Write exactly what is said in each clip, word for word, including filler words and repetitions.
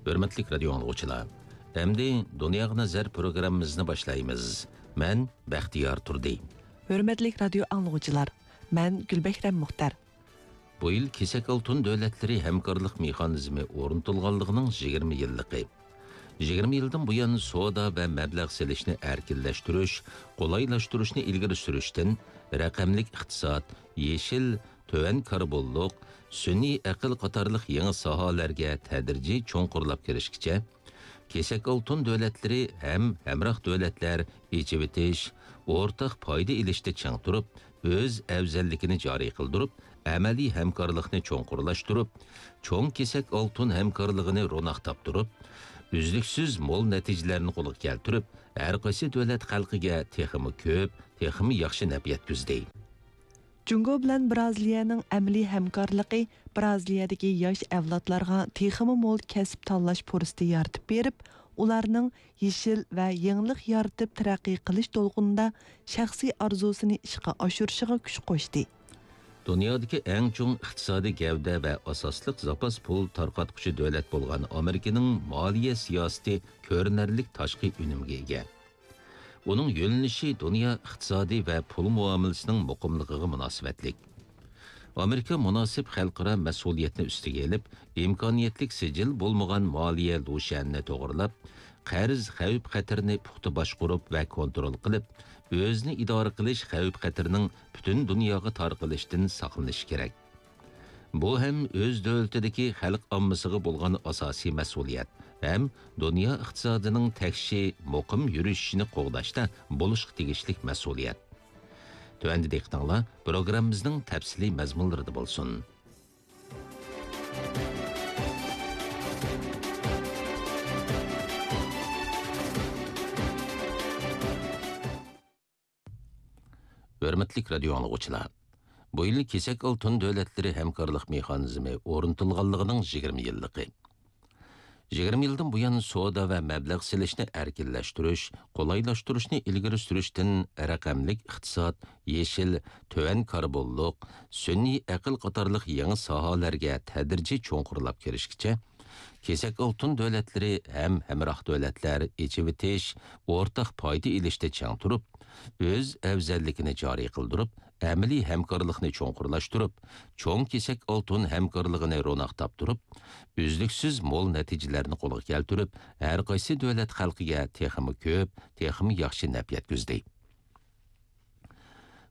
ھۆرمەتلىك رادىيو ئاڭلىغۇچىلار، ئەمدى دۇنياغا نەزەر پروگراممىمىزنى باشلايمىز. مەن بەختىيار تۇردى. ھۆرمەتلىك رادىيو ئاڭلىغۇچىلار، مەن گۈلبەھرەم مۇختەر. بۇ يىل كېسەك ئالتۇن دۆلەتلىرى ھەمكارلىق مېخانىزمى ئورنىتىلغانلىقىنىڭ يىگىرمە يىللىقى. يىگىرمە يىلدىن بۇيان سودا ۋە مەبلەغ سېلىشنى ئەركىنلەشتۈرۈش، قولايلاشتۇرۇشنى ئىلگىرى سۈرۈشتىن، رەقەملىك ئىقتىساد، يېشىل، تۆۋەن كاربونلۇق، سۈنئىي ئەقىل قاتارلىق يېڭى ساھەلەرگە تەدرىجىي چوڭقۇرلاپ كىرىشكىچە، كېسەك ئالتۇن دۆلەتلىرى ھەم ھەمراھ دۆلەتلەر ئېچىۋېتىش، ئورتاق پايدا ئېلىشتا چىڭ تۇرۇپ، ئۆز ئەۋزەللىكىنى جارى قىلدۇرۇپ، ئەمەلىي ھەمكارلىقنى چوڭقۇرلاشتۇرۇپ، چوڭ كېسەك ئالتۇن ھەمكارلىقىنى روناق تاپتۇرۇپ، ئۈزلۈكسىز مول نەتىجىلەرنى قولغا كەلتۈرۈپ، ھەر قايسى دۆلەت خەلقىگە تېخىمۇ كۆپ، تېخىمۇ ياخشى نەپ يەتكۈزدى. جۇڭگو بىلەن برازىلىيەنىڭ ئەمەلىي ھەمكارلىقى برازىلىيەدىكى ياش ئەۋلادلارغا تېخىمۇ مول كەسىپ تاللاش پۇرسىتى يارىتىپ بېرىپ، ئۇلارنىڭ يېشىل ۋە يېڭىلىق يارىتىپ تەرەققىي قىلىش دولقۇنىدا شەخسىي ئارزۇسىنى ئىشقا ئاشۇرۇشىغا كۈچ قوشتى. دۇنيادىكى ئەڭ چوڭ ئىقتىسادىي گەۋدە ۋە ئاساسلىق زاپاس پۇل تارقاتقۇچى دۆلەت بولغان ئامېرىكىنىڭ مالىيە سىياسىتى كۆرۈنەرلىك تاشقى ئۈنۈمگە ئىگە. ئۇنىڭ يۆنىلىشى دۇنيا ئىقتىسادى ۋە پۇل مۇئامىلىسىنىڭ مۇقىملىقىغا مۇناسىۋەتلىك. ئامېرىكا مۇناسىپ خەلقئارا مەسئۇلىيەتنى ئۈستىگە ئېلىپ، ئىمكانىيەتلىك سىجىل بولمىغان مالىيە لۇشيەنىنى توغرىلاپ، قەرز خەۋپ-خەتىرىنى پۇختا باشقۇرۇپ ۋە كونترول قىلىپ، ئۆزىنى ئىدارە قىلىش خەۋپ-خەتىرىنىڭ پۈتۈن دۇنياغا تارقىلىشىدىن ساقلىنىشى كېرەك. بۇ ھەم ئۆز دۆلىتىدىكى خەلق ئاممىسىغا بولغان ئاساسىي مەسئۇلىيەت ھەم دۇنيا ئىقتىسادىنىڭ تەكشى مۇقىم يۈرۈشۈشىنى قوغداشتا بولۇشقا تېگىشلىك مەسئۇلىيەت. تۆۋەندە دىققىتىڭلار پروگراممىمىزنىڭ تەپسىلىي مەزمۇنلىرىدا بولسۇن. ھۆرمەتلىك رادىيو ئاڭلىغۇچىلار! بۇ يىل كېسەك ئالتۇن دۆلەتلىرى ھەمكارلىق مېخانىزمى ئورنىتىلغانلىقىنىڭ يىگىرمە يىللىقى. يىگىرمە يىلدىن بۇيان سودا ۋە مەبلەغ سېلىشنى ئەركىنلەشتۈرۈش، قولايلاشتۇرۇشنى ئىلگىرى سۈرۈشتىن، رەقەملىك ئىقتىساد، يېشىل، تۆۋەن كاربونلۇق، سۈنئىي ئەقىل قاتارلىق يېڭى ساھەلەرگە تەدرىجىي چوڭقۇرلاپ كىرىشكىچە، كېسەك ئالتۇن دۆلەتلىرى ھەم ھەمراھ دۆلەتلەر ئېچىۋېتىش، ئورتاق پايدا ئېلىشتا چىڭ تۇرۇپ، ئۆز ئەۋزەللىكىنى جارى قىلدۇرۇپ، ئەمەلىي ھەمكارلىقنى چوڭقۇرلاشتۇرۇپ، چوڭ كېسەك ئالتۇن ھەمكارلىقىنى روناق تاپتۇرۇپ، ئۈزلۈكسىز مول نەتىجىلەرنى قولغا كەلتۈرۈپ، ھەر قايسى دۆلەت خەلقىگە تېخىمۇ كۆپ، تېخىمۇ ياخشى نەپ يەتكۈزدى.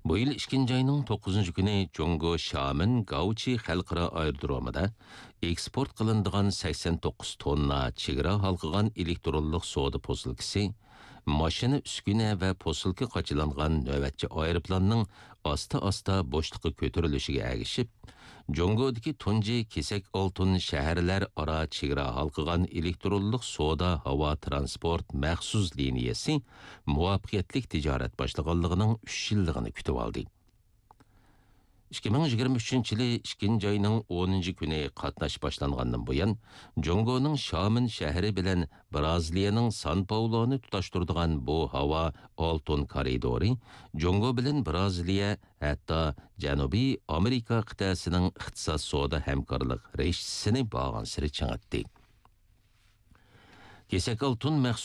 بۇ يىل ئىككىنچى ئاينىڭ توققۇزىنچى كۈنى جۇڭگو شامېن گاۋچى خەلقئارا ئايرودرومىدا ئېكسپورت قىلىنىدىغان سەكسەن توققۇز توننا چېگرا ھالقىغان ئېلېكترونلۇق سودا پوسۇلكىسى، ماشىنا، ئۈسكۈنە ۋە پوسۇلكا قاچىلانغان نۆۋەتچى ئايروپىلاننىڭ ئاستا-ئاستا بوشلۇققا كۆتۈرۈلۈشىگە ئەگىشىپ، جۇڭگودىكى تۇنجى كېسەك ئالتۇن شەھەرلەر ئارا چېگرا ھالقىغان ئېلېكترونلۇق سودا ھاۋا ترانسپورت مەخسۇس لىنىيەسى مۇۋەپپەقىيەتلىك تىجارەت باشلىغانلىقىنىڭ ئۈچ يىللىقىنى كۈتۈۋالدى. ئىككى مىڭ يىگىرمە ئۈچىنچى يىلى ئىككىنچى ئاينىڭ ئونىنچى كۈنى قاتناش باشلانغاندىن بۇيان، جۇڭگونىڭ شامېن شەھىرى بىلەن برازىلىيەنىڭ سان پاولونى تۇتاشتۇرىدىغان بۇ ھاۋا ئالتۇن كارىدورى جۇڭگو بىلەن برازىلىيە، ھەتتا جەنۇبىي ئامېرىكا قىتئەسىنىڭ ئىقتىساد سودا ھەمكارلىق رىشتىسىنى بارغانسېرى چىڭىتتى. كېسەك ئالتۇن مەخسۇس